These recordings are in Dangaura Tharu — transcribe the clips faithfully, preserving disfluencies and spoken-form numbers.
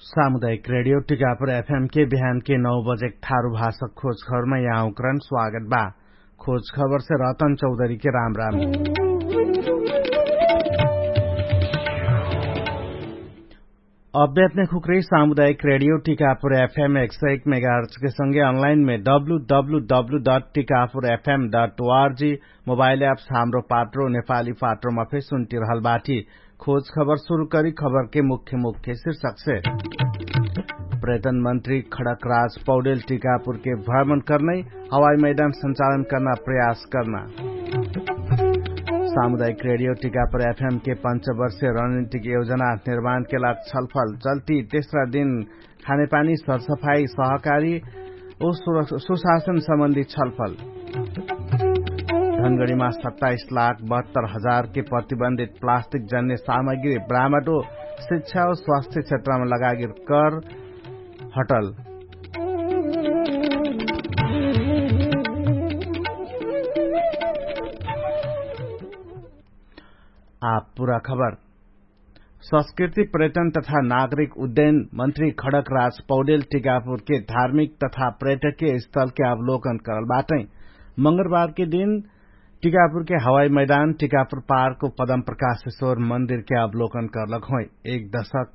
सामुदायिक रेडियो टिकापुर एफएम के बिहान के नौ बजे थारु भाषा खोज खबरमा यहाँ उक्रन स्वागत बा। खोज खबर से रतन चौधरी के राम राम। अभ्यात्मिक हुक्रे सामुदायिक रेडियो टिकापुर एफएम एक सौ एक मेगाहर्च के संगे अनलाइन में W W W dot Tikapur FM dot ORG mobile apps Hamro Patro नेपाली पात्रोमा फे सुन्टिरहल बाटी। खोज खबर सुरु करी खबर के मुख्य मुख्य शीर्षक से। पर्यटन मन्त्री खडक राज पौडेल टिकापुर के भ्रमण कर्नै हवाई मैदान सञ्चालन कर्ना प्रयास कर्ना। सामुदायिक रेडियो टिकापुर एफएम के पञ्चवर्षीय रणनीतिक योजना निर्माण के लाग छलफल चल्ती तेस्रा दिन खानेपानी सरसफाई सहकारी ओ सुशासन सम्बन्धी छलफल। धनगढीमा सत्ताइस लाख बहत्तर हजार के प्रतिबन्धित प्लास्टिक जन्य सामग्री ब्राह्मटो शिक्षा ओ स्वास्थ्य क्षेत्रमा लगागिर कर हटल। आप पुरा खबर। संस्कृति पर्यटन तथा नागरिक उद्ययन मन्त्री खडक राज पौडेल टिकापुरके धार्मिक तथा पर्यटकीय स्थलके अवलोकन करल बाटै। मंगरबारके दिन टिकापुरके हवाई मैदान टिकापुर पार्क पदम प्रकाशेश्वर मन्दिरके अवलोकन करलक होइ। एक दशक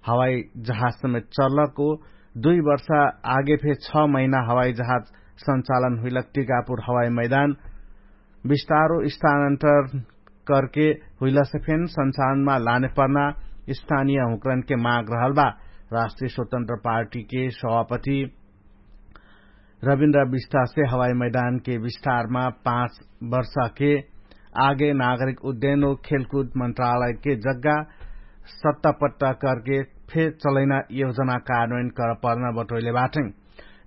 हवाई जहाज समेत चलक ओ दुई वर्ष आगे फे छ महिना हवाई जहाज सञ्चालन हुइलक टिकापुर हवाई मैदान विस्तारो स्थानान्तर करके हुइलसे फेन सञ्चालनमा लाने पर्ना स्थानीय हुँक्रनके माग रहल बा। राष्ट्रिय स्वतन्त्र पार्टीके सभापति रविन्द्र विस्तासे हवाई मैदानके विस्तारमा पाँच वर्षके आगे नागरिक उद्ययन ओ खेलकुद मन्त्रालयके जग्गा सत्तापट्टा करके फेर चलैना योजना कार्यान्वयन करपर्ना बटोइले बाटै।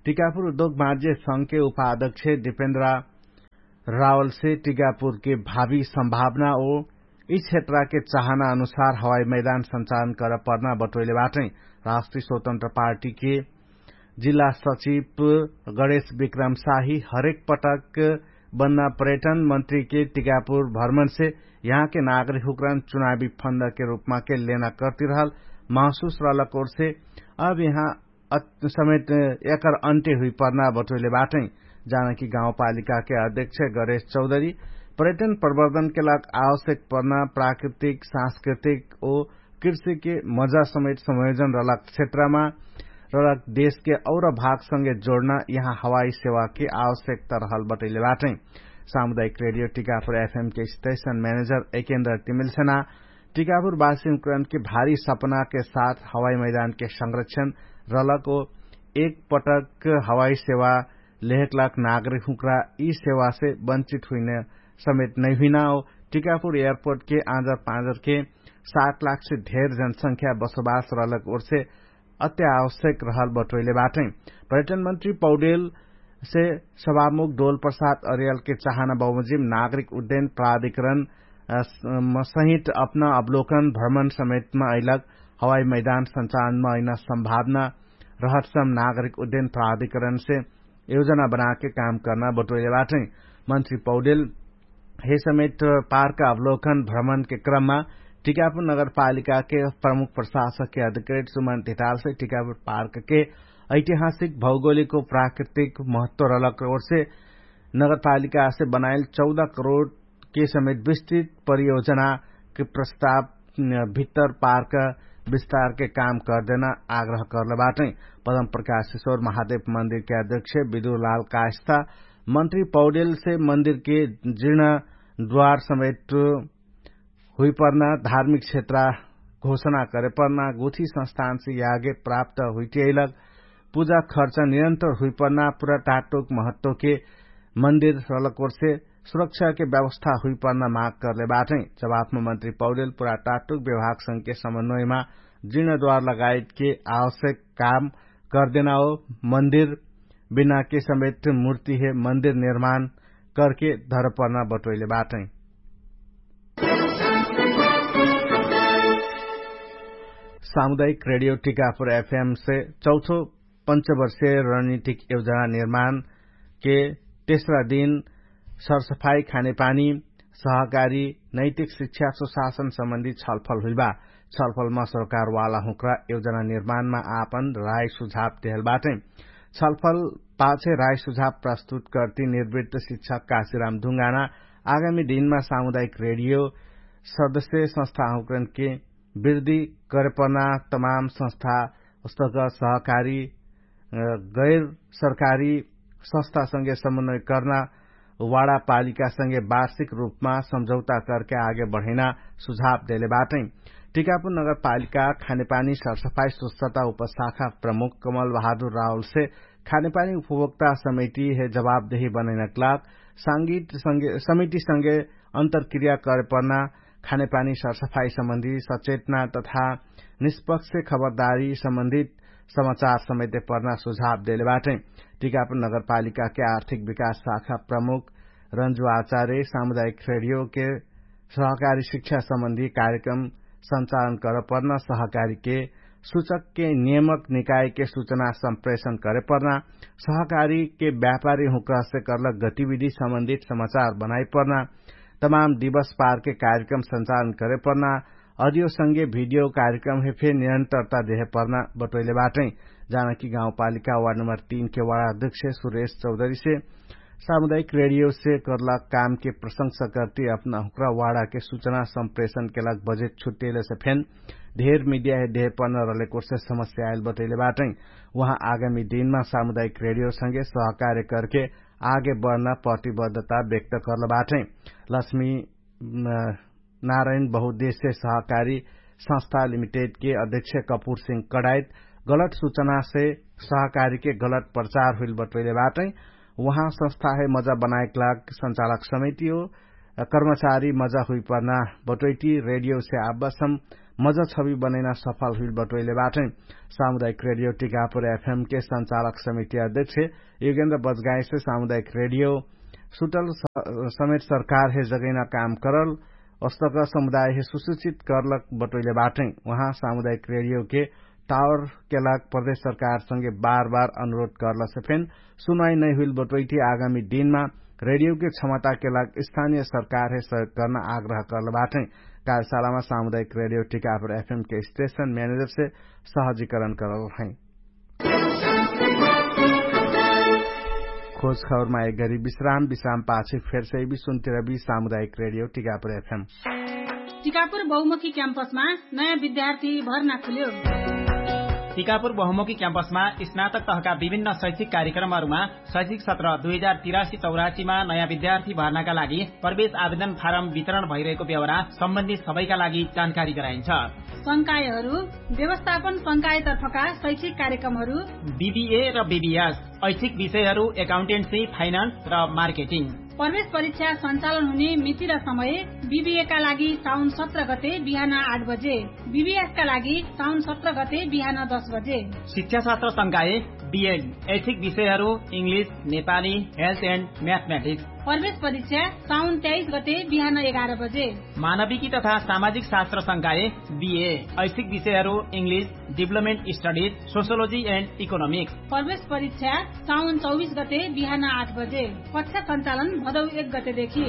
टिकापुर उद्योग माज्य संघके उपाध्यक्ष दिपेन्द्र रावलसे टिकापुरके भावी सम्भावना ओ यि क्षेत्रके चाहना अनुसार हवाई मैदान सञ्चालन करपर्ना बटोइले बाटै। राष्ट्रिय स्वतन्त्र पार्टीके जिल्ला सचिव गणेश विक्रम साही हरेक पटक बन्ना पर्यटन मन्त्रीके टिकापुर भ्रमणसे यहाँके नागरिक हुक्रान चुनावी फन्दके रूपमाके लेना कर्तिरहल महसुस रहलकोरसे अब यहाँ समेत एकर अन्त्य हुइपर्ना बटोइले बाटै। जानकी गाउँपालिकाके अध्यक्ष गणेश चौधरी पर्यटन प्रवर्धनके लाग आवश्यक पर्ना प्राकृतिक सांस्कृतिक ओ कृषिके मजा समेत संयोजन रहलक क्षेत्रमा रहलक देशके और भागसँगे जोड्ना यहाँ हवाई सेवाके आवश्यकता रहल बटैले बाटै। सामुदायिक रेडियो Tikapur FMK station manager Ekendra तिमिलसेना टिकापुर बासिमकरणके भारी सपनाके साथ हवाई मैदानके संरक्षण रहलक ओ एक पटक हवाई सेवा लेहकलाक नागरिक हुँक्रा यि सेवासे वञ्चित हुइने समेत नैहुइना ओ टिकापुर एयरपोर्टके आँजर पाँजरके सात लाखसे धेर जनसंख्या बसोबास रहलक ओर्से अत्यावश्यक रहल बटोइले बाटै। पर्यटन मन्त्री पौडेलसे सभामुख डोल प्रसाद अरियलके चाहना बमोजिम नागरिक उद्ययन प्राधिकरण सहित अपना अवलोकन भ्रमण समेतमा अइलक हवाई मैदान सञ्चालनमा अइना सम्भावना रहतसम नागरिक उद्ययन प्राधिकरणसे योजना बनाके काम कर्ना बटोइले बाटै। मन्त्री पौडेल हे समेत पार्क अवलोकन भ्रमणके क्रममा टिकापुर नगरपालिकाके प्रमुख प्रशासकके अधिकृत सुमन धितालसे टिकापुर पार्कके ऐतिहासिक भौगोलिक ओ प्राकृतिक महत्व रहलक ओर्से नगरपालिकासे बनाइल चौध करोडके समेत विस्तृत परियोजनाके प्रस्ताव भित्तर पार्क विस्तारके काम करदेना आग्रह करले बाटै। पदम प्रकाशेश्वर महादेव मन्दिरके अध्यक्ष विदुरलाल कास्ता मन्त्री पौडेलसे मन्दिरके जिर्ण द्वार समेत हुइपर्ना धार्मिक क्षेत्र घोषणा करेपर्ना गुठी संस्थानसे यागे प्राप्त हुइटियैलक पूजा खर्च निरन्तर हुइपर्ना पुरा टाटोक महत्वके मन्दिर रहलक ओर्से सुरक्षाके व्यवस्था हुइपर्ना माग करले बाटै। जवाफमा मन्त्री पौडेल पुरा टाटोक विभागसँगके समन्वयमा जिर्ण द्वार लगायतके आवश्यक काम करदेना ओ मन्दिर बिनाके समेत मूर्तिहे मन्दिर निर्माण करके धरपर्ना बटोइले बाटै। सामुदायिक रेडियो टिकापुर एफएमसे चौथो पञ्चवर्षीय रणनीतिक योजना निर्माणके तेस्रा दिन सरसफाई खानेपानी सहकारी नैतिक शिक्षा सुशासन सम्बन्धी छलफल हुइलबा। छलफलमा सरकारवाला हुँक्रा योजना निर्माणमा आपन राय सुझाव देहल बाटै। छलफल पाछे राय सुझाव प्रस्तुत कर्ति निर्वृत्त शिक्षक काशीराम ढुङ्गाना आगामी दिनमा सामुदायिक रेडियो सदस्य संस्था हुँक्रनके वृद्धि करेपर्ना तमाम संस्था उस्तक सहकारी गैर सरकारी संस्थासँगे समन्वय कर्ना वाडापालिकासँगे वार्षिक रूपमा सम्झौता करके आगे बढैना सुझाव देले बाटै। टिकापुर नगरपालिका खानेपानी सरसफाई स्वच्छता उपशाखा प्रमुख कमल बहादुर राहुलसे खानेपानी उपभोक्ता समिति हे जवाबदेही बनैनक लाग समितिसँगे अन्तरक्रिया करेपर्ना खानेपानी सरसफाई सम्बन्धी सचेतना तथा निष्पक्ष खबरदारी सम्बन्धित समाचार समेते पर्ना सुझाव देले बाटै। टिकापुर नगरपालिकाके आर्थिक विकास शाखा प्रमुख रन्जु आचार्य सामुदायिक रेडियोके सहकारी शिक्षा सम्बन्धी कार्यक्रम सञ्चालन करपर्ना सहकारीके सूचकके नियमक निकायके सूचना सम्प्रेषण करेपर्ना सहकारीके व्यापारी हुँक्रहसे कर्लक गतिविधि सम्बन्धित समाचार बनाइपर्ना तमाम दिवस पारके कार्यक्रम सञ्चालन करेपर्ना अडियोसँगे भिडियो कार्यक्रम हे फेर निरन्तरता देहे पर्ना बटोइले बाटै। जानकी गाउँपालिका वार्ड नम्बर तीन के वार्ड अध्यक्ष सुरेश चौधरीसे सामुदायिक रेडियोसे कर्लक कामके प्रशंसा कर्ति अपना हुँक्रा वार्डके सूचना सम्प्रेषणके लाग बजेट छुट्टेलेसे फेन ढेर मिडिया हे देहे पर्ना रहलेकोसे समस्या आइल बटोइले बाटै। उहाँ आगामी दिनमा सामुदायिक रेडियोसँगे सहकार्य करके आगे बढ्ना प्रतिबद्धता व्यक्त कर्ल बाटै। लक्ष्मी नारायण बहुदेश्य सहकारी संस्था लिमिटेडके अध्यक्ष कपुर सिंह कडाइत गलत सुचनासे सहकारीके गलत प्रचार हुइल बटोइले बाटै। उहाँ संस्था हे मजा बनाएक लाग सञ्चालक समिति हो कर्मचारी मजा हुइपर्ना बटोइटी रेडियोसे आब्बासम मजा छवि बनैना सफल हुइल बटोइले बाटै। सामुदायिक रेडियो टिकापुर एफएमके सञ्चालक समिति अध्यक्ष युगेन्द्र बजगाइसे सामुदायिक रेडियो सुटल समेत सरकार हे जगैना काम करल अस्तक समुदाय हे सुसूचित कर्लक बटोइले बाटै। उहाँ सामुदायिक रेडियोके टावरके लाग प्रदेश सरकारसँगे बार बार अनुरोध कर्लसे फेन सुनाइ नैहुइल बटोइटी आगामी दिनमा रेडियोके क्षमताके लाग स्थानीय सरकार हे सहयोग कर्ना आग्रह कर्ल बाटै। कार्यशालामा सामुदायिक रेडियो टिकापुर एफएमके स्टेशन म्यानेजरसे सहजीकरण करल है। खोज खबरमा एक गरी विश्राम विश्राम पाछे फेरसे भी सुन्तिरबी सामुदायिक रेडियो टिकापुर एफएम। टिकापुर बहुमुखी क्याम्पसमा नयाँ विद्यार्थी भर्ना खुल्यो। टिकापुर बहुमुखी क्याम्पसमा स्नातक तहका विभिन्न शैक्षिक कार्यक्रमहरूमा शैक्षिक सत्र दुई हजार तिरासी चौरासीमा नयाँ विद्यार्थी भर्नाका लागि प्रवेश आवेदन फारम वितरण भइरहेको व्यवहार सम्बन्धित सबैका लागि जानकारी गराइन्छ। संकायहरू व्यवस्थापन संकायतर्फका शैक्षिक कार्यक्रमहरू बिबिए र बिबिएस ऐच्छिक विषयहरू एकाउन्टेन्सी फाइनान्स र मार्केटिङ। प्रवेश परीक्षा सञ्चालन हुने मिति र समय बिबिएका लागि साउन सत्र गते बिहान आठ बजे, बिबिएसका लागि साउन सत्र गते बिहान दस बजे। शिक्षाशास्त्र संकाय बिएड ऐच्छिक विषयहरू इङ्ग्लिस, नेपाली, हेल्थ एन्ड म्याथमेटिक्स। प्रवेश परीक्षा साउन तेइस गते बिहान एघार बजे। मानविकी तथा सामाजिक शास्त्र संकाय बिए ऐच्छिक विषयहरू इङ्ग्लिस, डिभलपमेन्ट स्टडिज, सोसियोलोजी एन्ड इकोनोमिक्स। प्रवेश परीक्षा साउन चौबिस गते बिहान आठ बजे। कक्षा सञ्चालन भदौ एक गतेदेखि।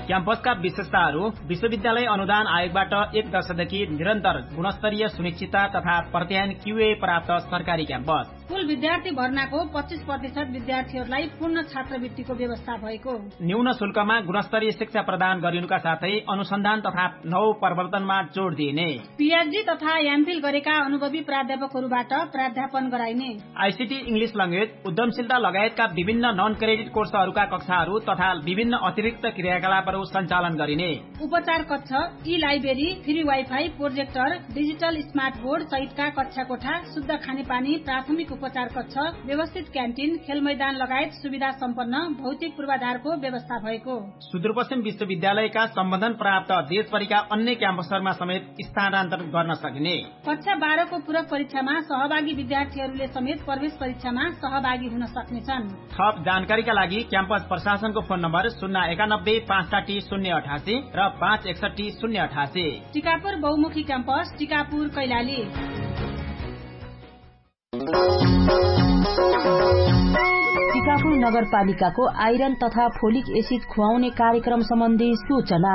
क्याम्पसका विशेषताहरू विश्वविद्यालय अनुदान आयोगबाट एक दशकदेखि निरन्तर गुणस्तरीय सुनिश्चितता तथा प्रत्यायन क्युए प्राप्त सरकारी क्याम्पस। कुल विद्यार्थी भर्नाको पच्चिस प्रतिशत विद्यार्थीहरूलाई पूर्ण छात्रवृत्तिको व्यवस्था भएको। न्यून शुल्कमा गुणस्तरीय शिक्षा प्रदान गरिनुका साथै अनुसन्धान तथा नौ प्रवर्तनमा जोड दिइने। पिएचडी तथा एमफिल गरेका अनुभवी प्राध्यापकहरूबाट प्राध्यापन गराइने। आइसिटी इङ्ग्लिस लङ्गेज उद्यमशीलता लगायतका विभिन्न नन क्रेडिट कोर्सहरूका कक्षाहरू तथा विभिन्न अतिरिक्त क्रियाकलापहरू सञ्चालन गरिने। उपचार कक्ष, ई library, free wifi, projector, digital smart board सहितका कक्षा कोठा, शुद्ध खानेपानी, प्राथमिक उपचार कक्ष, व्यवस्थित क्यान्टिन, खेलमैदान लगायत सुविधा सम्पन्न भौतिक पूर्वाधारको व्यवस्था भएको। सुदूरपश्चिम विश्वविद्यालयका सम्बन्धन प्राप्त देशभरिका अन्य क्याम्पसहरूमा समेत स्थानान्तरण गर्न सकिने। कक्षा बाह्रको पूरक परीक्षामा सहभागी विद्यार्थीहरूले समेत प्रवेश परीक्षामा सहभागी हुन सक्नेछन्। थप जानकारीका लागि क्याम्पस प्रशासनको फोन नम्बर शून्य एकानब्बे पाँच साठी शून्य अठासी र पाँच एकसठी शून्य अठासी। टिकापुर बहुमुखी क्याम्पस, टिकापुर कैलाली। कापुर नगरपालिकाको आइरन तथा फोलिक एसिड खुवाउने कार्यक्रम सम्बन्धी सूचना।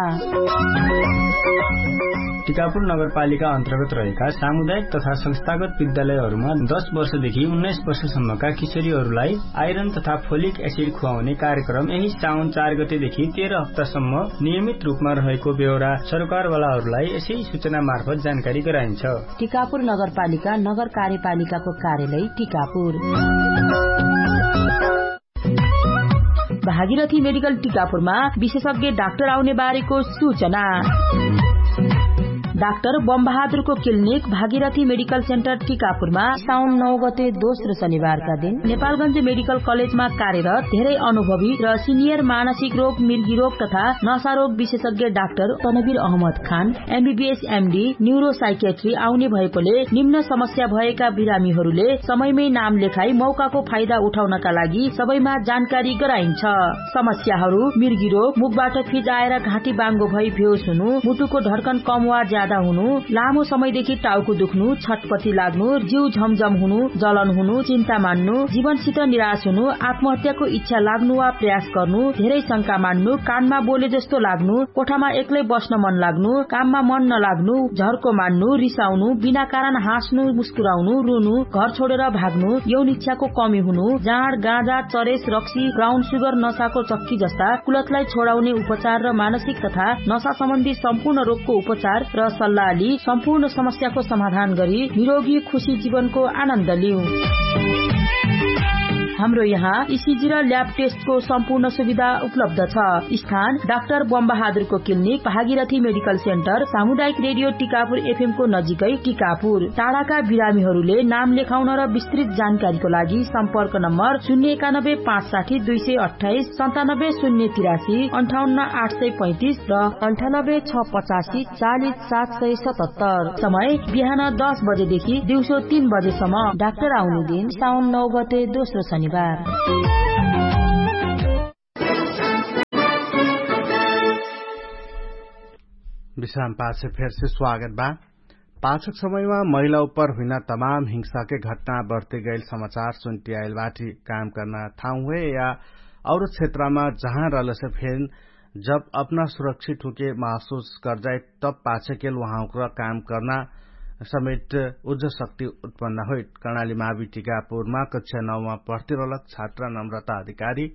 टिकापुर नगरपालिका अन्तर्गत रहेका सामुदायिक तथा संस्थागत विद्यालयहरूमा दस वर्षदेखि उन्नाइस वर्षसम्मका किशोरीहरूलाई आइरन तथा फोलिक एसिड खुवाउने कार्यक्रम यही साउन चार गतेदेखि तेह्र हप्तासम्म नियमित रूपमा रहेको बेहोरा सरकारवालाहरूलाई यसै सूचना मार्फत जानकारी गराइन्छ। टिकापुर नगरपालिका नगर कार्यपालिकाको कार्यालय टिकापुर। भागीरथी मेडिकल टिकापुरमा विशेषज्ञ डाक्टर आउने बारेको सूचना। डाक्टर बमबहादुरको क्लिनिक भागीरथी मेडिकल सेन्टर टिकापुरमा साउन नौ गते दोस्रो शनिबारका दिन नेपालगञ्ज मेडिकल कलेजमा कार्यरत धेरै अनुभवी र सिनियर मानसिक रोग, मिर्गी रोग तथा नशा रोग विशेषज्ञ डाक्टर तनवीर अहमद खान एमबीबीएस एमडी न्युरोसाइकेट्री आउने भएकोले निम्न समस्या भएका बिरामीहरूले समयमै नाम लेखाई मौकाको फाइदा उठाउनका लागि सबैमा जानकारी गराइन्छ। समस्याहरू मिर्गी रोग, मुखबाट फिजाएर घाँटी बाङ्गो भई बेहोस हुनु, मुटुको धड्कन कम वा ज्यादा हुनु, लामो समयदेखि टाउको दुख्नु, छटपटी लाग्नु, जिउ झमझम हुनु, जलन हुनु, चिन्ता मान्नु, जीवनसित निराश हुनु, आत्महत्याको इच्छा लाग्नु वा प्रयास गर्नु, धेरै शंका मान्नु, कानमा बोले जस्तो लाग्नु, कोठामा एक्लै बस्न मन लाग्नु, काममा मन नलाग्नु, झर्को मान्नु, रिसाउनु, बिना कारण हाँस्नु, मुस्कुराउनु, रुनु, घर छोडेर भाग्नु, यौन इच्छाको कमी हुनु, जाँड, गाँजा, चरेस, रक्सी, ब्राउन सुगर, नशाको चक्की जस्ता कुलतलाई छोडाउने उपचार र मानसिक तथा नशा सम्बन्धी सम्पूर्ण रोगको उपचार र सल्लाहली सम्पूर्ण समस्याको समाधान गरी निरोगी खुशी जीवनको आनन्द लिउ। हाम्रो यहाँ इसिजी र ल्याब टेस्टको सम्पूर्ण सुविधा उपलब्ध छ। स्थान डाक्टर बमबहादुरको क्लिनिक, भागीरथी मेडिकल सेन्टर, सामुदायिक रेडियो टिकापुर एफएमको नजिकै टिकापुर। टाढाका बिरामीहरूले नाम लेखाउन र विस्तृत जानकारीको लागि सम्पर्क नम्बर शून्य एकानब्बे पाँच साठी दुई सय अट्ठाइस, सन्तानब्बे शून्य तिरासी, अन्ठाउन्न आठ सय पैँतिस र अन्ठानब्बे छ पचासी चालिस सात सय सतहत्तर। समय बिहान दस बजेदेखि दिउँसो तीन बजेसम्म। डाक्टर आउने दिन साउन नौ गते दोस्रो शनिबार। विश्राम पाछे फेरसे स्वागत बा। पाछक समयमा महिला उपर हुइना तमाम हिंसाके घटना बढ्ते गैल समाचार सुन्टियाइल बाटी। काम कर्ना ठाउँ हुए या और क्षेत्रमा जहाँ रहलसे फेन जब अपना सुरक्षित हुके महसुस करजाइत तब पाछेकेल उहाँउक्र काम कर्ना समेट उज्ज शक्ति उत्पन्न होइत। कर्णाली मावी टिकापुरमा कक्षा नौमा पढ्तिरलक छात्रा नम्रता अधिकारी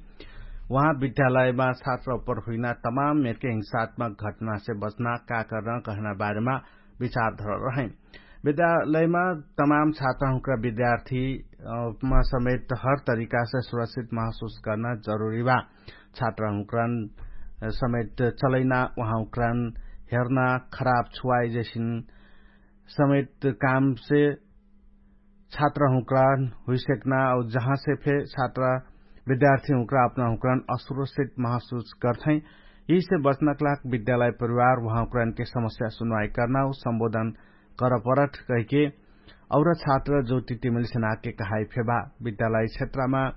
उहाँ विद्यालयमा छात्रा उपर हुइना तमाम मेरके हिंसात्मक घटनासे बच्ना का कर्ना कहना बारेमा विचार धरल रहै। विद्यालयमा तमाम छात्राहुँक्रा विद्यार्थीमा समेत हर तरिकासे सुरक्षित महसुस कर्ना जरुरी बा। छात्राहुँक्रान समेत चलैना उहाँहुँक्रान हेर्ना खराब छुवाइ जैसिन समेत कामसे छात्राहुँक्रान हुइसेक्ना और जहाँसे फे छात्रा विद्यार्थीहुँक्रा अपनाहुँक्रान असुरक्षित महसुस गर्थै। यिसे बच्नकलाक विद्यालय परिवार उहाँहुँक्रानके समस्या सुनवाइ कर्ना और सम्बोधन करपरट कहिके और छात्र जो टिटिमिल सेनाके कहाइ फेबा। विद्यालय क्षेत्रमा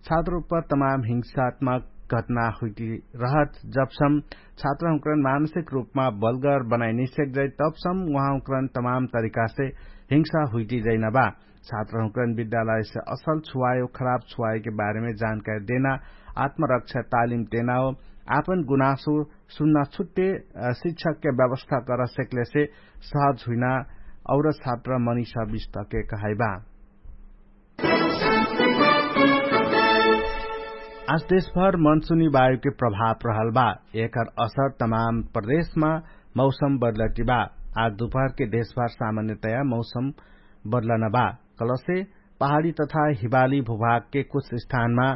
छात्र उपर तमाम हिंसात्मक घटना हुइटिरहत जबसम छात्रहुँक्रन मानसिक रूपमा बलगर बनाइ नैसेक जाइ तबसम उहाँहुँक्रन तमाम तरिकासे हिंसा हुइटिजैनबा। छात्रहुँक्रन विद्यालयसे असल छुवायो खराब छुवायोके बारेमे जानकारी देना आत्मरक्षा तालिम देनाओ आपन गुनासो सुन्ना छुट्टे शिक्षकके व्यवस्था करसेकलेसे सहज हुइना और छात्र मनिषा विष्टके कहाइबा। आज देशभर मनसुनी वायुके प्रभाव रहल बा। एकर असर तमाम प्रदेशमा मौसम बदलटी बा। आज दुपहरके देशभर सामान्यतया मौसम बदलन बा। कलसे पहाडी तथा हिवाली भूभागके कुछ स्थानमा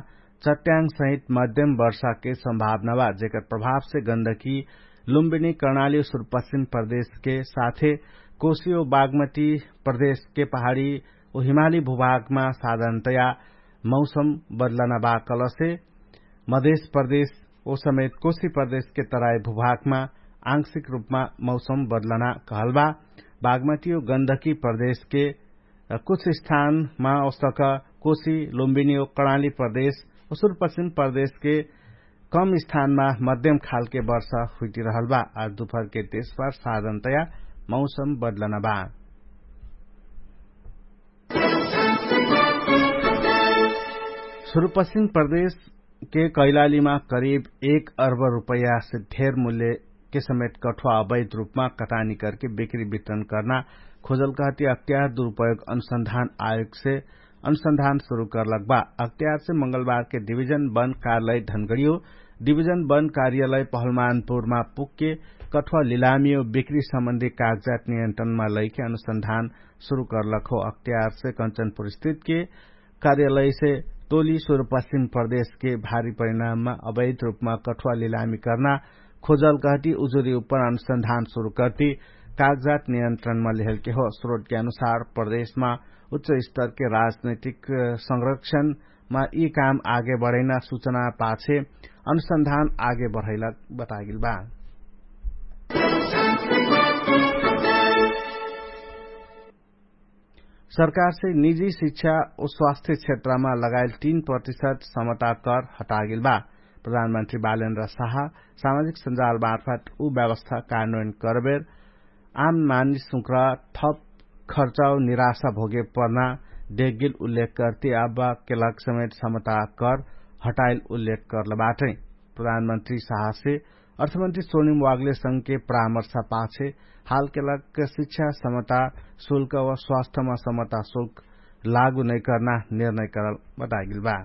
चट्याङ सहित मध्यम वर्षाके सम्भावना बा जेकर प्रभावसे गन्दकी लुम्बिनी कर्णाली सुरपश्चिम प्रदेशके साथे कोसियो बागमती प्रदेशके पहाडी ओ हिमाली भूभागमा साधारणतया मौसम बदलना बा कलसे मधेश प्रदेश ओ समेत कोशी प्रदेशके तराई भूभागमा आंशिक रूपमा मौसम बदलना कहलबा। बागमती ओ गन्दकी प्रदेशके कुछ स्थानमा ओसक कोशी लुम्बिनी ओ कर्णाली प्रदेश ओ सुरपश्चिम प्रदेशके कम स्थानमा मध्यम खालके वर्ष हुइटिरहलबा। आज दुपहरके देशभर साधारणतया मौसम बदलना बा। सुरुपश्चिम प्रदेश के कैलालीमा करिब एक अर्ब रुपैयासे धेर मूल्यके समेत कठुवा अवैध रुपमा कटानी करके बिक्री वितरण कर्ना खोजल कहती अख्तियार दुरुपयोग अनुसन्धान आयोगसे अनुसन्धान सुरु कर्लक बा। अख्तियारसे मंगलबारके डिभिजन वन कार्यालय धनगडियो डिभिजन वन कार्यालय पहलमानपुरमा पुगके कठुवा लिलामियो बिक्री सम्बन्धी कागजात नियन्त्रणमा लैके अनुसन्धान सुरु कर्लक हो। अख्तियारसे कञ्चनपुर स्थितके कार्यालयसे टोली सुरुपश्चिम प्रदेशके भारी परिणाममा अवैध रुपमा कठुवा लिलामी कर्ना खोजल कहती उजुरी उपर अनुसन्धान सुरु करती कागजात नियन्त्रणमा लेहलके हो। स्रोटके अनुसार प्रदेशमा उच्च स्तरके राजनैतिक संरक्षणमा यी काम आगे बढैना सुचना पाछे अनुसन्धान आगे बढैला बतागेल बा। सरकारसे निजी शिक्षा ओ स्वास्थ्य क्षेत्रमा लगायल तीन प्रतिशत समता कर हटागेल बा। प्रधानमन्त्री बालेन्द्र साहा सामाजिक सञ्जाल मार्फत उ व्यवस्था कार्यान्वयन करबेर आम मानिसुक्र थप खर्चाउ निराशा भोगे पर्ना देखगेल उल्लेख करती आब्बा केलक समेत समता कर हटायल उल्लेख करल बाटै। प्रधानमन्त्री साहासे अर्थमन्त्री सोनिम वागले संघके परामर्श पाछे हालकेलक शिक्षा समता शुल्क व स्वास्थ्यमा समता शुल्क लागु नैकर्ना निर्णय करल बतागेल बा।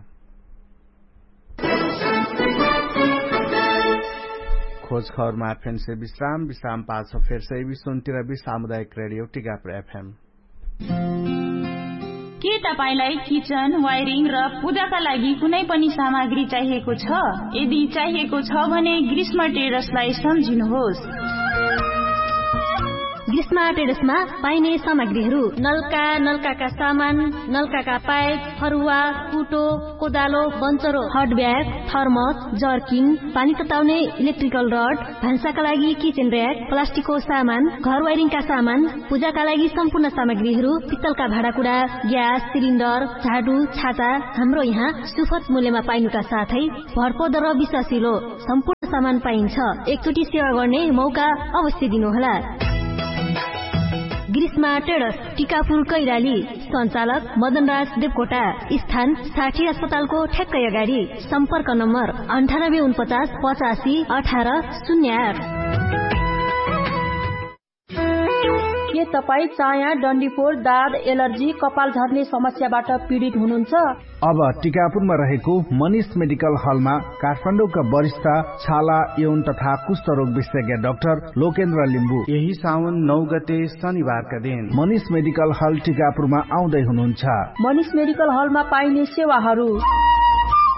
खोज खबरमा फेन्से विश्राम विश्राम पाछ फेर्से विश्वन्तिरबी सामुदायिक रेडियो टिकाप्र एफएम। के तपाईंलाई किचन वायरिङ र पूजाका लागि कुनै पनि सामग्री चाहिएको छ? यदि चाहिएको छ भने ग्रीष्म टेडर्सलाई सम्झिनुहोस्। ग्रीष्म टेडर्समा पाइने सामग्रीहरू नल्का नल्काका सामान, नल्काका पाइप, फरुवा, कुटो, कोदालो, बन्चरो, हट ब्याग, थर्मस, जर्किन, पानी तताउने इलेक्ट्रिकल रड, भान्साका लागि किचेन र्याक, प्लास्टिकको सामान, घर वाइरिङका सामान, पूजाका लागि सम्पूर्ण सामग्रीहरू, पित्तलका भाँडाकुडा, ग्यास सिलिन्डर, झाडु, छाता, हाम्रो यहाँ सुफत मूल्यमा पाइनुका साथै भरपर्दो र विश्वासिलो सम्पूर्ण सामान पाइन्छ। एकचोटि सेवा गर्ने मौका अवश्य दिनुहोला। ग्रीष्मा टेडस, टिकापुर कैराली। सञ्चालक मदनराज देवकोटा। स्थान साठी अस्पतालको ठ्याक्कै अगाडि। सम्पर्क नम्बर अन्ठानब्बे उनपचास पचासी अठार शून्य आठ। के तपाईँ चाया डन्डीपोर दाद एलर्जी कपाल झर्ने समस्याबाट पीडित हुनुहुन्छ? अब टिकापुरमा रहेको मनिष मेडिकल हलमा काठमाडौँका वरिष्ठ छाला यौन तथा कुष्ठरोग विशेषज्ञ डाक्टर लोकेन्द्र लिम्बू यही साउन नौ गते शनिबारका दिन मनिष मेडिकल हल टिकापुरमा आउँदै हुनुहुन्छ। मनिष मेडिकल हलमा पाइने सेवाहरू।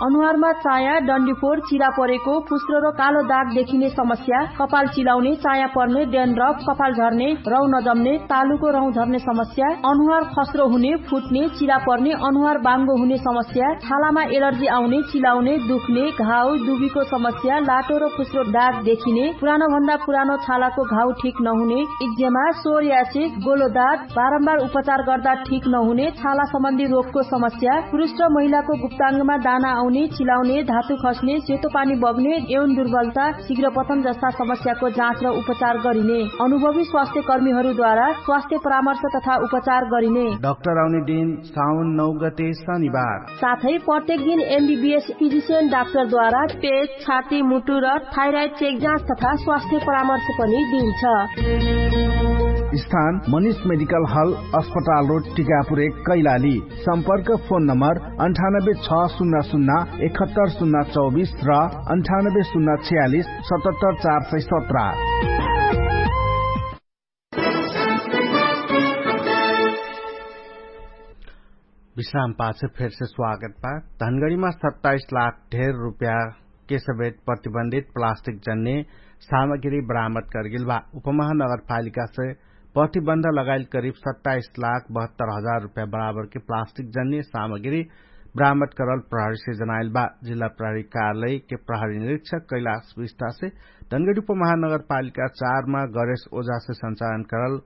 अनुहारमा चाया डन्डीफोर चिरा परेको फुस्रो र कालो दाग देखिने समस्या, कपाल चिलाउने चाया पर्ने डेन्ड्रफ कपाल झर्ने रौ नजम्ने तालुको रौ झर्ने समस्या, अनुहार खस्रो हुने फुट्ने चिरा पर्ने अनुहार बाङ्गो हुने समस्या, छालामा एलर्जी आउने चिलाउने दुख्ने घाउ दुबीको समस्या लाटो र फुस्रो दाग देखिने पुरानो भन्दा पुरानो छालाको घाउ ठिक नहुने इक्जेमा सोरियासिस गोलोदात बारम्बार उपचार गर्दा ठिक नहुने छाला सम्बन्धी रोगको समस्या पुरुष र महिलाको गुप्ताङ्गमा दाना आउने चिलाउने धातु खस्ने सेतो पानी बग्ने एवं दुर्बलता शीघ्र पतन जस्ता समस्याको जाँच र उपचार गरिने अनुभवी स्वास्थ्य कर्मीहरूद्वारा स्वास्थ्य परामर्श तथा उपचार गरिने डाक्टर आउने दिन साउन नौ गते शनिबार। साथै प्रत्येक दिन एमबिबिएस फिजिसियन डाक्टरद्वारा पेट छाती मुटु र थाइराइड चेक जाँच तथा स्वास्थ्य परामर्श पनि दिइन्छ। स्थान मनिष मेडिकल हल अस्पताल रोड टिकापुर एक कैलाली। सम्पर्क फोन नम्बर अन्ठानब्बे छ शून्य शून्य एकहत्तर शून्य चौबिस र अन्ठानब्बे शून्य छयालिस सतहत्तर चार सय सत्र। विश्राम पाछ फेरसे स्वागत बा। धनगढीमा सत्ताइस लाख ढेर रुपया के समेत प्रतिबन्धित प्लास्टिक जन्ने सामग्री बरामद करगेल बा। उपमहानगरपालिका से प्रतिबन्ध लगाइल करिब सत्ताइस लाख बहत्तर हजार रुपया बराबर के प्लास्टिक जन्ने सामग्री बरामद करल प्रहरी से जनाइल बा। जिल्ला प्रहरी कार्यालय के प्रहरी निरीक्षक कैलाश विष्टा से धनगढी उपमहानगरपालिका चार मा गरेश ओझा से सञ्चालन करल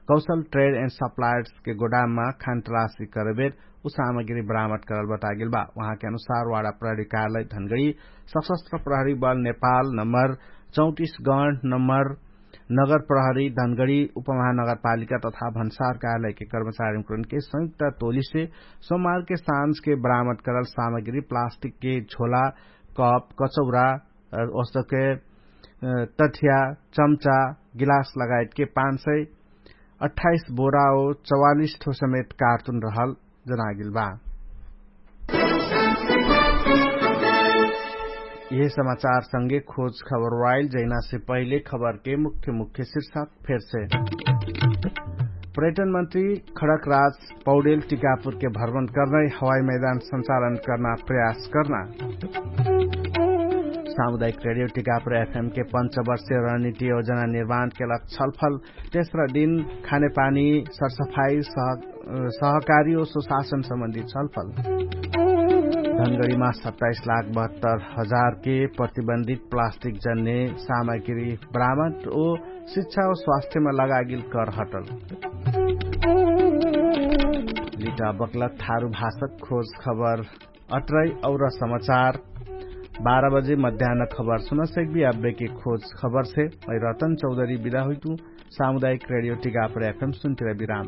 कौशल ट्रेड एन्ड सप्लायर्स के गोडाममा खान्तराशी करबेर उ सामग्री बरामद करल बतागेल बा। उहाँके अनुसार वाडा प्रहरी कार्यालय धनगढी सशस्त्र प्रहरी बल नेपाल नम्बर चौतिस गण नम्बर नगर प्रहरी धनगडी उपमहानगरपालिका तथा भन्सार कार्यालयके कर्मचारीकरणके संयुक्त टोलीसे सोमारके साँझके बरामद करल सामग्री प्लास्टिकके झोला, कप, कचौरा, ओस्तके तठिया, चम्चा, गिलास लगायतके पाँच सय अठाइस बोरा ओ चौवालिस ठो समेत कार्टुन रहल जनागेल बा। यह समाचार संगे खोज खबर वाइल जैनासे पहिले खबरके मुख्य मुख्य शीर्षक फेरसे। पर्यटन मन्त्री खडकराज पौडेल टिकापुरके भ्रमण कर्नै हवाई मैदान सञ्चालन कर्ना प्रयास कर्ना। सामुदायिक रेडियो टिकापुर एफएमके पञ्चवर्षीय रणनीति योजना निर्माणके लग छलफल। तेस्रा दिन खानेपानी सरसफाई सहकारी ओ सुशासन सम्बन्धी छलफल। धनगडीमा सत्ताइस लाख बहत्तर हजारके प्रतिबन्धित प्लास्टिक जन्ने सामग्री बरामद ओ शिक्षा ओ स्वास्थ्यमा लगागिल कर हटल। लिटा बक्लक थारु भाषक खोज खबर अट्रै और समाचार बाह्र बजे मध्यान खबर सुनसक्बी। अब्बेके खोज खबरसे मै रतन चौधरी बिदा हुइतु। सामुदायिक रेडियो टिकापर एफएम सुन्तिरा बिराम।